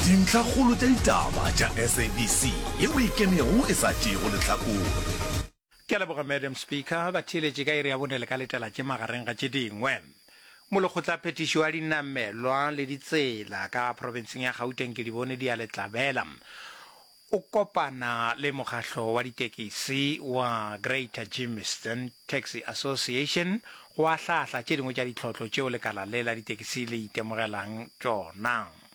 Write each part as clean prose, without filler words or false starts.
Dintlhakgolo tša ditaba tša SABC yeo e ikemego e sa tšeego lehlakore. Ke a leboga Madam Speaker. Batheeletši ka iri ya bone le ka letela tše magareng ga tše dingwe. Molekgotlaphethiši wa dinamelwa le ditsela ka profenseng ya Gauteng Kedibone Dialetlabela o kopana le mokgahlo wa ditekisi wa Greater Germiston Taxi Association go ahlaahla tše dingwe tša ditlhotlo tšeo lekala le la ditekisi le itemogelang tšona.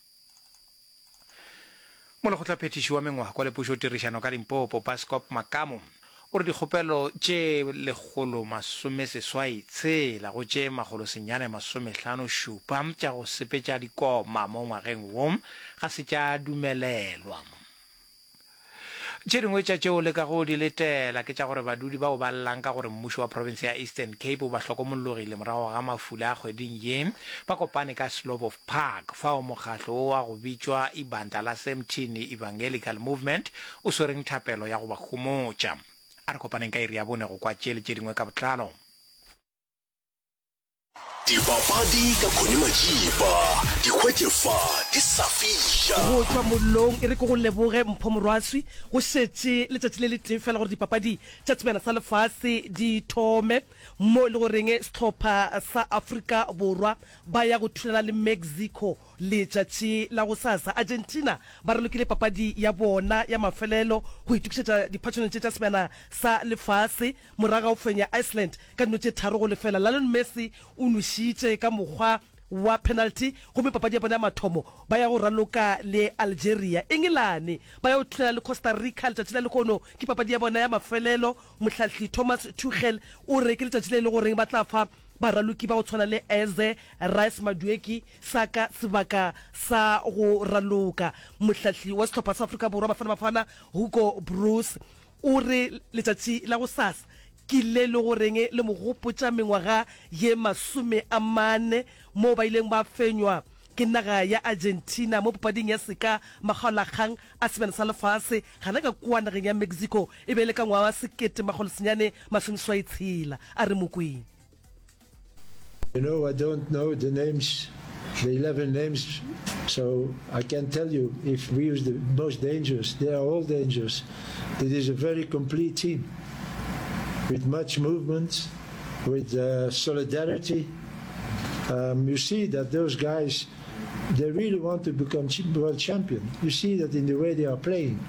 Molekgotlaphethiši wa mengwako le pušotirišano ka Limpopo, Bascop Makamu, o re dikgopelo tše 186 go tše 957 tša go sepetša dikoma mo ngwageng wo ga se tša dumelelwa. Tše dingwe tša tšeo le kago di letela ke tša gore badudi bao ba llang ka gore mmušo wa profense ya Eastern Cape o ba hlokomologile morago ga mafula a kgweding ye ba kopane ka Slobof Park fao mokgahlo wo wa go bitšwa Ibandla la Semthini Evangelical Movement o swereng thapelo ya go ba homotša. A re kopaneng ka iri ya bone go kwa tše le tše dingwe ka botlalo. Dipapadi ka Connie Majiba, di hwetše fa di sa fiša. Go tšwa mollong, e re ke go leboge Mpho Morwaswi. Go šetše letšatši le letee fela gore dipapadi tša Sebjana sa Lefase di thome, mo e le goreng sehlopha sa Afrika Borwa ba ya go thulana le Mexico Letšatši la gosasa, Argentina ba ralokile papadi ya bona ya mafelelo go itokišetša diphatšhanong tše tša Sebjana sa Lefase morago ga go fenya Iceland ka dino tše 3-0. Lionel Messi o nwešitše ka mokgwa wa penalty gomme papadi ya bona ya mathomo ba ya go raloka le Algeria. Engelane ba ya go thulana le Costa Rica letšatši la lehono, ke papadi ya bona ya mafelelo. Mohlahli Thomas Tuchel o re ke letšatši le e le goreng ba tla fa baraloki ba go tshwana le Eze, Rice Madueke, sa ka sebaka sa go raloka. Mohlahli wa sehlopha sa Afrika Borwa Bafana Bafana Hugo Broos o re letšatši la gosasa ke le le goreng le mo gopotša mengwaga ye 40 moo ba ileng ba fenywa ke naga ya Argentina mo papading ya seka makgaolakgang a Sebjana sa Lefase gana ka kua nageng ya Mexico e be e le ka ngwaga wa 1986. A re mo kweng. You know, I don't know the names, the 11 names, so I can't tell you if we use the most dangerous. They are all dangerous. It is a very complete team with much movement, with uh, solidarity. Um, you see that those guys, they really want to become world champion. You see that in the way they are playing,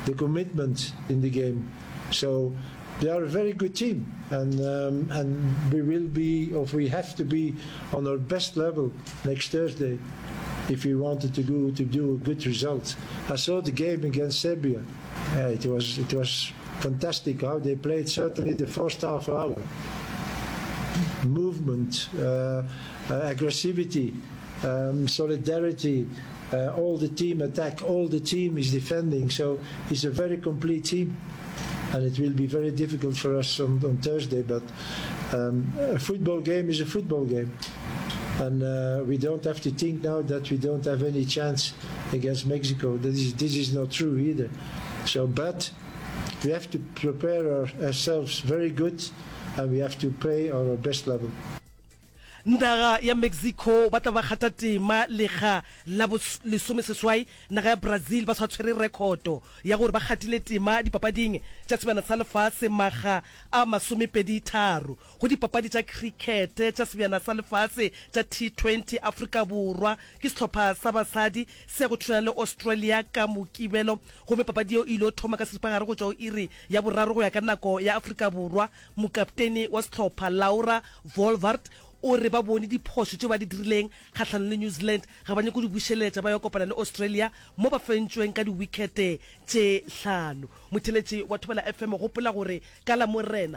the commitment in the game. So they are a very good team, and um, and we will be, or we have to be, on our best level next Thursday, if we wanted to go to do a good result. I saw the game against Serbia. Uh, it was it was fantastic how they played. Certainly the first half hour, movement, uh, uh, aggressivity, um, solidarity. Uh, all the team attack, all the team is defending. So it's a very complete team and it will be very difficult for us on, on Thursday. But um, a football game is a football game, and uh, we don't have to think now that we don't have any chance against Mexico. That is, this is not true either. So, but we have to prepare our, ourselves very good, and we have to play on our best level. Naga ya Mexico ba tla ba kgatha tema lekga la bo lesomeseswai. Naga ya Brazil ba sa tshwere rekhoto ya gore ba kgathile tema dipapading tša Sebjana sa Lefase makga a masomepeditharo. Go dipapadi tša khrikete tša Sebjana sa Lefase tša T20, Afrika Borwa ke sehlopha sa basadi se ya go thulana le Australia ka Mokibelo gomme papadi yeo e ilo thoma ka seripagare go tšwa go iri ya boraro go ya ka nako ya Afrika Borwa. Mokaptene wa sehlopha, Laura Wolvaardt, o re ba bone diphošo tšeo ba di dirileng kgahlanong le New Zealand, ga ba nyake go di bušeletša ba yo kopana le Australia mo ba fentšweng ka diwikhete tše hlano. Motheeletši wa Thobela FM, gopola gore ka Lamorena,